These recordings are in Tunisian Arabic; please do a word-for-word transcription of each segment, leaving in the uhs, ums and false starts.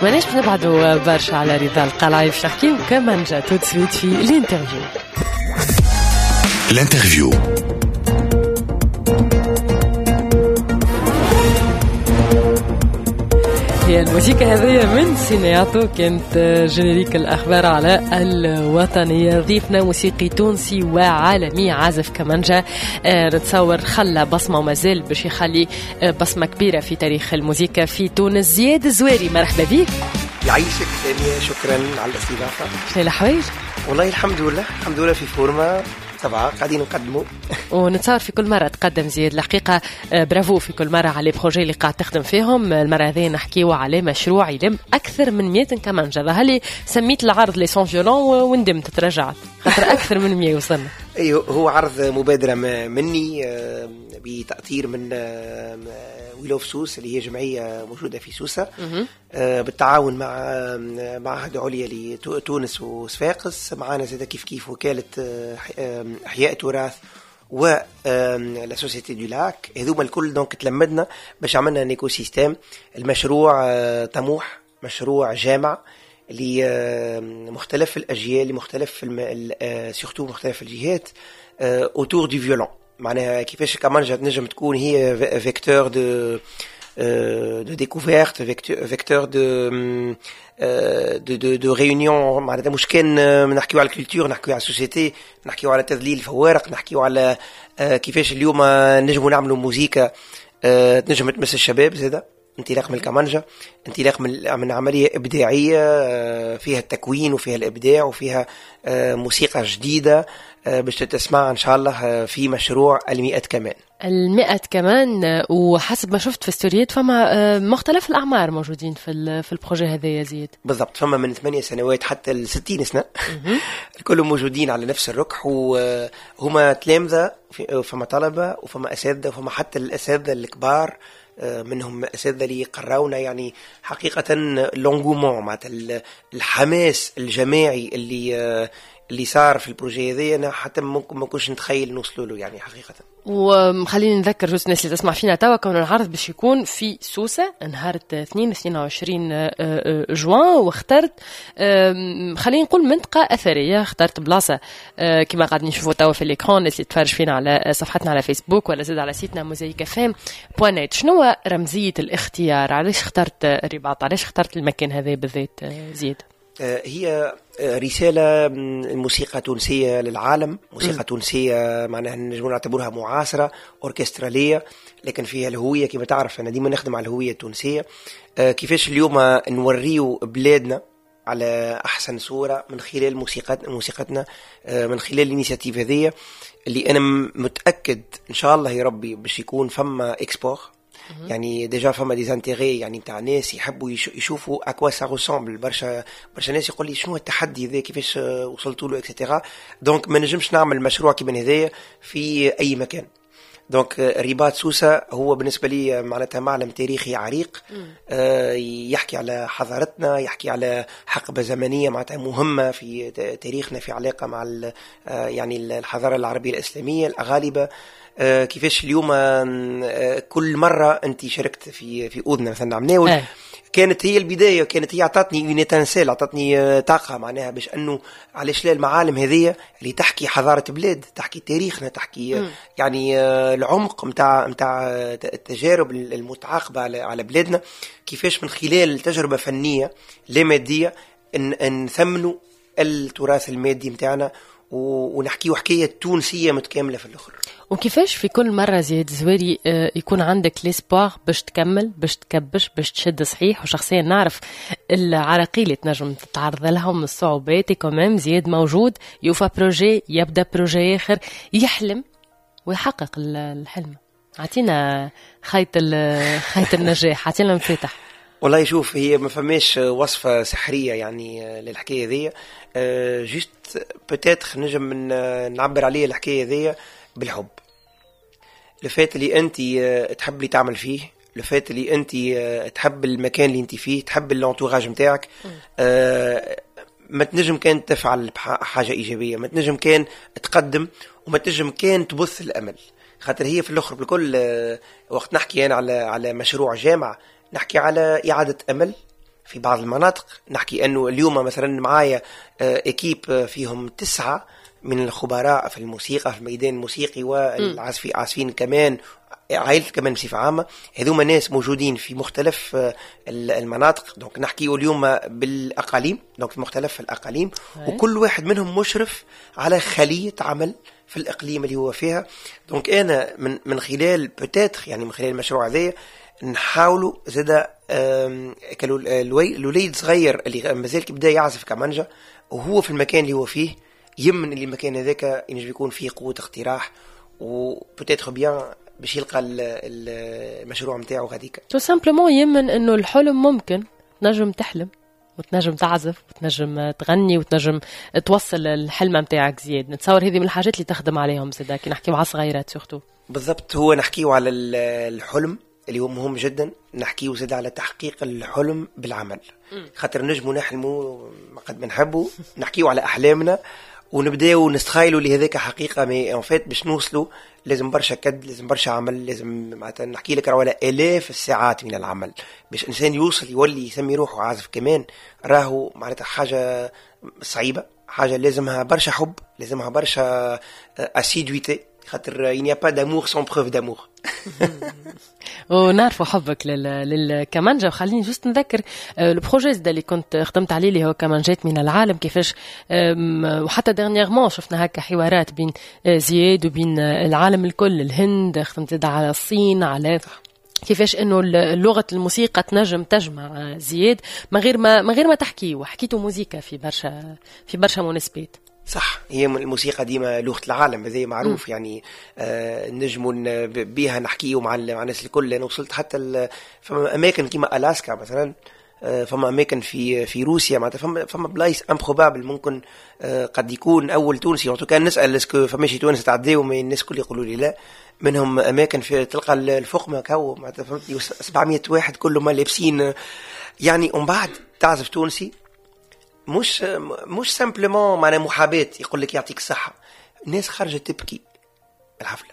ماناش باش نبعدوا برشا على رضا القلعي، باش نحكيو كمانجا tout de suite في l'interview. l'interview. هي الموسيقى هذه من سينياتو، كانت générique الأخبار على الوطنية. ضيفنا موسيقي تونسي وعالمي، عازف كمانجا، نتصور خلى بصمة ومازال باش يخلي بصمة كبيرة في تاريخ الموسيقى في تونس. زياد الزواري، مرحبا بك. يعيشك سامية، شكرا على الاستضافة. شنو الأحوال؟ والله الحمد لله، الحمد لله في forme طبعا قاعدين نقدموا. ونتصور في كل مرة تقدم زياد الحقيقة برافو في كل مرة على projets اللي قاعد تخدم فيهم. المرة هذه نحكيو على مشروع يلم أكثر من مية كمانجا. ظهر لي سميت العرض les cent violons وندمت، تراجعت خاطر أكثر من مية وصلنا. أيوه، هو عرض مبادرة مني بتأطير من We Love Sousse اللي هي جمعية موجودة في سوسة، بالتعاون مع معهد عليا لتونس وصفاقس. معانا زاد كيف كيف وكالة أحياء تراث و la Société du Lac. هذوما الكل donc تلمدنا باش عملنا un écosystème. المشروع طموح، مشروع جامع لمختلف الأجيال، لمختلف surtout مختلف الجهات autour du violon. معناها كيفاش كمانجا تنجم تكون هي vecteur de de découverte, vecteur de de de de réunion. معناتها مش كان نحكيو على ال culture، نحكيو على ال société، نحكيو على تذليل الفوارق، نحكيو على كيفاش اليوم نجمو نعملوا موزيكا تنجم تمس الشباب زاده، انطلاق من الكمانجا، انطلاق من من عملية إبداعية فيها التكوين وفيها الإبداع وفيها موسيقى جديدة باش تتسمع إن شاء الله في مشروع المئة كمان. المئة كمان، وحسب ما شفت في ستوريات فما مختلف الأعمار موجودين في في ال projet هذا يا زيد. بالضبط، فما من ثمانية سنوات حتى الستين سنة الكل موجودين على نفس الركح، وهما تلامذة، فما طلبة وفما أساتذة، وفما حتى الأساتذة الكبار منهم أساتذة اللي قراونا. يعني حقيقة l'engouement معناتها الحماس الجماعي اللي اللي صار في ال projet هذا أنا حتى ممكن ما كنتش نتخيل نوصلوا له يعني حقيقة. وخليني نذكر juste الناس اللي تسمع فينا توا كون العرض باش يكون في سوسة نهار اثنين وعشرين جوان، واخترت خلينا نقول منطقة أثرية، اخترت بلاصة كما قاعدين نشوفوا توا في l'écran، الناس اللي تفرج فينا على صفحتنا على فيسبوك ولا زاد على site نا موزايك فام point net. شنو رمزية الاختيار؟ علاش اخترت الرباط؟ علاش اخترت المكان هذا بالذات زياد؟ هي رسالة الموسيقى التونسية للعالم، موسيقى تونسية معناها نجمو نعتبرها معاصرة أوركسترالية، لكن فيها الهوية. كما تعرف أنا ديما نخدم على الهوية التونسية، كيفاش اليوم نوريو بلادنا على أحسن صورة من خلال موسيقتنا، موسيقتنا من خلال ال initiative هذه اللي أنا متأكد إن شاء الله يا ربي باش يكون فما export. يعني déjà فما des intérêts يعني نتاع ناس يحبوا يشوفوا à quoi ça ressemble. برشا برشا ناس يقول لي شنو التحدي هذا، كيفاش وصلتوا له et cetera. donc ما نجمش نعمل مشروع كيما هذايا في اي مكان. donc رباط سوسة هو بالنسبة لي معناتها معلم تاريخي عريق، آه يحكي على حضارتنا، يحكي على حقبة زمنية معناتها مهمة في تاريخنا، في علاقة مع يعني الحضارة العربية الإسلامية الأغالبة. آه كيفاش اليوم آه كل مرة أنت شاركت في في أوذنا مثلا عمناول آه. كانت هي البداية، كانت هي أعطتني une étincelle، أعطتني طاقة معناها باش أنه علاش لا المعالم هذه اللي تحكي حضارة بلاد، تحكي تاريخنا، تحكي م. يعني العمق متاع متاع التجارب المتعاقبة على على بلادنا، كيفاش من خلال تجربة فنية لا مادية إن نثمنوا التراث المادي متاعنا ونحكيه حكاية تونسية متكاملة في الآخر. وكيفاش في كل مرة زياد الزواري يكون عندك l'espoir باش تكمل، باش تكبش، باش تشد صحيح؟ وشخصيا نعرف العراقيل اللي تنجم تتعرض لهم، الصعوبات، quand même زياد موجود، يوفى projet، يبدا projet آخر، يحلم ويحقق الحلم. عطينا خيط خيط النجاح، عطينا المفتاح. والله شوف، هي ما فماش وصفة سحرية يعني للحكاية ذي، juste peut-être نجم نعبر عليه الحكاية ذي بالحب. le fait اللي انت تحب اللي تعمل فيه، le fait اللي انت تحب المكان اللي انت فيه، تحب l'entourage نتاعك، ما تنجم كان تفعل حاجة إيجابية، ما تنجم كان تقدم، وما تنجم كان تبث الأمل. خاطر هي في الآخر بالكل وقت نحكي أنا على على مشروع جامعة، نحكي على إعادة أمل، في بعض المناطق. نحكي انه اليوم مثلا معايا équipe فيهم تسعة من الخبراء في الموسيقى، في الميدان الموسيقي والعازفين، عازفين كمان، عائلة كمان بصفة عامة. هذوما ناس موجودين في مختلف المناطق، donc نحكيو اليوم بالأقاليم، donc في مختلف الأقاليم، وكل واحد منهم مشرف على خلية عمل في الإقليم اللي هو فيها. donc أنا من من خلال peut-être يعني من خلال المشروع هذايا نحاولوا زادا الوليد صغير اللي مازال كي بدا يعزف كمانجا وهو في المكان اللي هو فيه، يمن اللي المكان هذاك ينجم يكون فيه قوة اقتراح و peut-être bien باش يلقى المشروع نتاعو غاديك. tout simplement يمن انه الحلم ممكن، تنجم تحلم وتنجم تعزف وتنجم تغني وتنجم توصل الحلم نتاعك. زياد، نتصور هذه من الحاجات اللي تخدم عليهم زادا كي نحكيو على صغيرات surtout. بالضبط، هو نحكيو على الحلم اللي هو مهم جدا، نحكيو زاد على تحقيق الحلم بالعمل، خاطر نجمو نحلموا قد ما نحبوا، نحكيو على احلامنا ونبداو نستخيلوا اللي هذاك حقيقه، mais en fait باش نوصلوا لازم برشا كد، لازم برشا عمل، لازم معناتها نحكي لك راهو الاف الساعات من العمل باش انسان يوصل يولي يسمي روحه عازف كمان. راهو معناتها حاجة صعيبه، حاجة لازمها برشا حب، لازمها برشا assiduité، خاطر il n'y a pas d'amour sans preuve d'amour. ونعرفوا حبك للكمانجا. وخليني juste نذكر ال projet اللي كنت خدمت عليه اللي هو كمانجات من العالم، كيفاش وحتى dernièrement شفنا هكا حوارات بين زياد وبين العالم الكل، الهند، خدمت على الصين، على كيفاش انه لغة الموسيقى تنجم تجمع زياد من غير ما من غير ما تحكي، وحكيتوا موزيكا في برشا في برشا مناسبات. صح، هي الموسيقى ديما لغة العالم، هذا معروف. م. يعني آه نجموا بها نحكيو مع مع الناس الكل. انا وصلت حتى فما اماكن كيما الاسكا مثلا، آه فما اماكن في في روسيا، معناتها فما فما بلايص improbables ممكن آه قد يكون اول تونسي كان نسال est-ce que فما شي تونس تعديو، الناس الكل يقولوا لي لا. منهم اماكن في تلقى الفقمه كهو معناتها فهمتني سبعمية واحد كلهم لابسين يعني، ومن بعد تعزف تونسي مش مش simplement معناها محاباة يقول لك يعطيك الصحة، الناس خارجة تبكي الحفلة.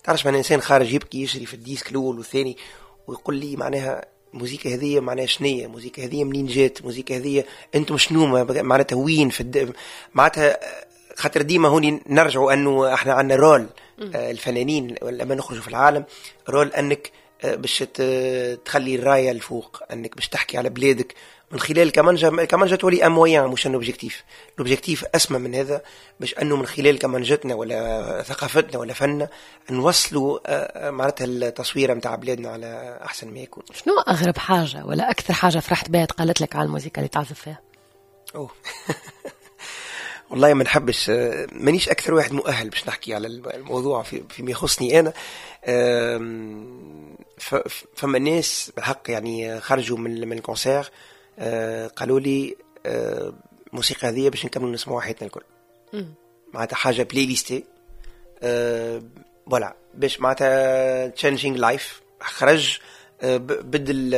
تعرفش معناها إنسان خارج يبكي يشري في ال disque الأول والثاني ويقول لي معناها الموسيقى هذه معناها شنية، الموسيقى هذه منين جات، الموسيقى هذه أنتم شنو معناتها وين في الد... معناتها خاطر ديما هوني نرجعوا أنه احنا عندنا rôle الفنانين لما نخرجوا في العالم، rôle أنك باش تخلي الراية الفوق، أنك باش تحكي على بلادك من خلال الكمانجا. الكمانجا تولي un moyen مش un objectif، l'objectif اسمى من هذا، باش انه من خلال كمانجتنا ولا ثقافتنا ولا فننا نوصلوا معناتها التصويره نتاع بلادنا على احسن ما يكون. شنو اغرب حاجة ولا اكثر حاجة فرحت بها تقالت لك على الموسيقى اللي تعزف فيها؟ اوه والله ما نحبش، مانيش اكثر واحد مؤهل باش نحكي على الموضوع في فيما يخصني انا. فما ناس بالحق يعني خرجوا من من ال concert قالوا لي الموسيقى هذه باش نكملوا نسمعوها حياتنا الكل، معناتها حاجة playlist voilà باش معناتها changing life. خرج بدل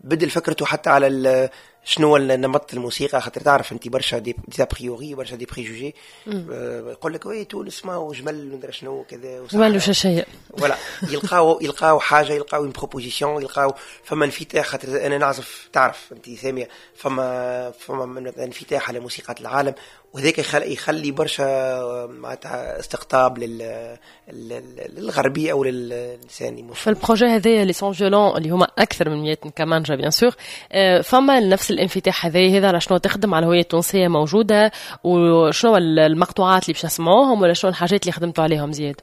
بدل فكرته حتى على شنو نمط الموسيقى، خاطر تعرف انت برشا des a priori، برشا des préjugés، يقول لك oui تونس ما هو جمل ندري شنو كذا جمل وشاشيه voilà، يلقاو يلقاو حاجة، يلقاو une proposition، يلقاو فما انفتاح. خاطر انا نعزف تعرف انت سامية فما فما انفتاح على موسيقى العالم، وهذاك يخلي برشا معناتها استقطاب لل للغربي او للانسان. في ال projet هذايا les cent violons اللي هما اكثر من مية كمانجا bien sûr، فما نفس الانفتاح هذا هذا على شنو تخدم على الهوية التونسية موجودة، وشنو المقطوعات اللي باش نسمعوهم ولا شنو الحاجات اللي خدمتوا عليهم زياد؟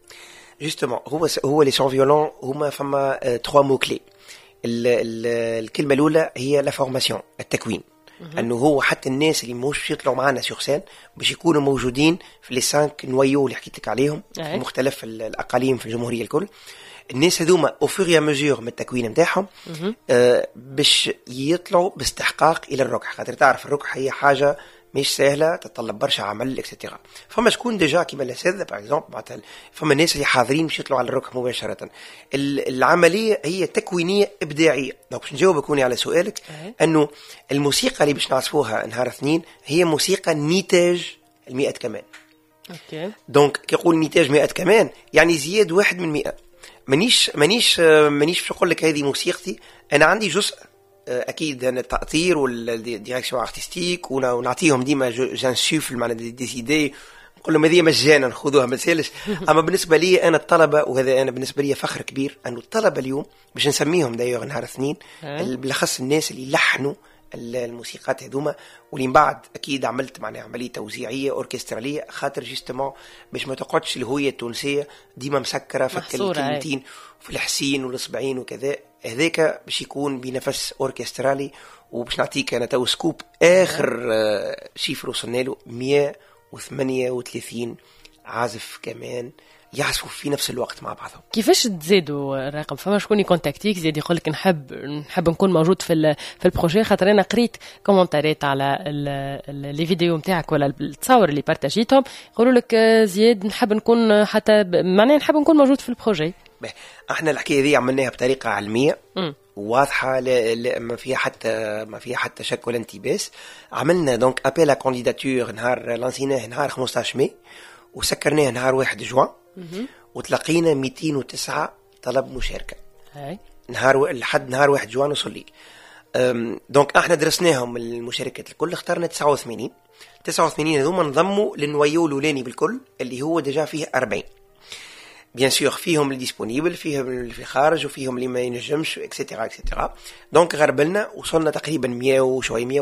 justement هو هو les cent violons هما فما trois mots clés. الكلمة الاولى هي la formation، التكوين، انه هو حتى الناس اللي مش يطلعوا معنا sur scène باش يكونوا موجودين في les cinq noyaux اللي حكيت لك عليهم في مختلف الاقاليم في الجمهورية الكل. الناس هذوما au fur et à mesure من التكوين نتاعهم آه باش يطلعوا باستحقاق الى الركح، خاطر تعرف الركح هي حاجة مش سهله، تتطلب برشا عمل et cetera. فما شكون déjà كيما الاساتذة par exemple، معناتها فما ناس اللي حاضرين باش يطلعوا على الركح مباشرة. العملية هي تكوينيه ابداعية. donc باش نجاوبك هوني على سؤالك، انه الموسيقى اللي باش نعزفوها نهار اثنين هي موسيقى نتاج المئة كمان. okay donc كي يقول نتاج مئة كمان يعني زياد واحد من مئة. مانيش مانيش مانيش باش نقول لك هذه موسيقتي، انا عندي جزء اكيد انا التاطير وال direction artistique، ونعطيهم ديما j'insuffle معناها des idées، نقول لهم هذه مجانا خذوها ما تسالش. اما بالنسبة لي انا الطلبه، وهذا انا بالنسبة لي فخر كبير انه الطلبة اليوم باش نسميهم d'ailleurs نهار اثنين، بالاخص الناس اللي لحنوا الموسيقات هذوما، واللي من بعد اكيد عملت معناها عملية توزيعيه اوركستراليه، خاطر justement باش ما تقعدش الهوية التونسية ديما مسكره في الكلمتين وفي الحسين والصبعين وكذا. هذاك باش يكون بنفس اوركسترالي. وباش نعطيك انا تو scoop، اخر آه، chiffre وصلنا له مية وثمانية وثلاثين عازف كمان يعزفوا في نفس الوقت مع بعضهم. كيفاش تزيدوا الرقم؟ فما شكون ي contacter ك زيد يقول لك نحب نحب نكون موجود في في ال projet؟ خاطر انا قريت commentaire ات على les vidéos نتاعك ولا التصاور اللي partag يتهم، يقولوا لك زياد نحب نكون حتى معناها نحب نكون موجود في ال projet. احنا الحكاية دي عملناها بطريقة علمية واضحه، لا لا ما فيها حتى ما فيها حتى شك ولا التباس. عملنا donc appel à candidature نهار lancيناه نهار خمسطاش ماي وسكرناه نهار واحد جوان، وتلقينا ميتين وتسعة طلب مشاركة هاي. نهار لحد نهار واحد جوان وصل لي. donc احنا درسناهم المشاركات الكل، اخترنا تسعة وثمانين. تسعة وثمانين هذوما انضموا لل noyau الاولاني بالكل اللي هو déjà فيه أربعين. bien sûr فيهم اللي disponibles، فيهم اللي في الخارج وفيهم اللي ما ينجمش et cetera et cetera. donc غربلنا، وصلنا تقريبا مية وشوي، مية.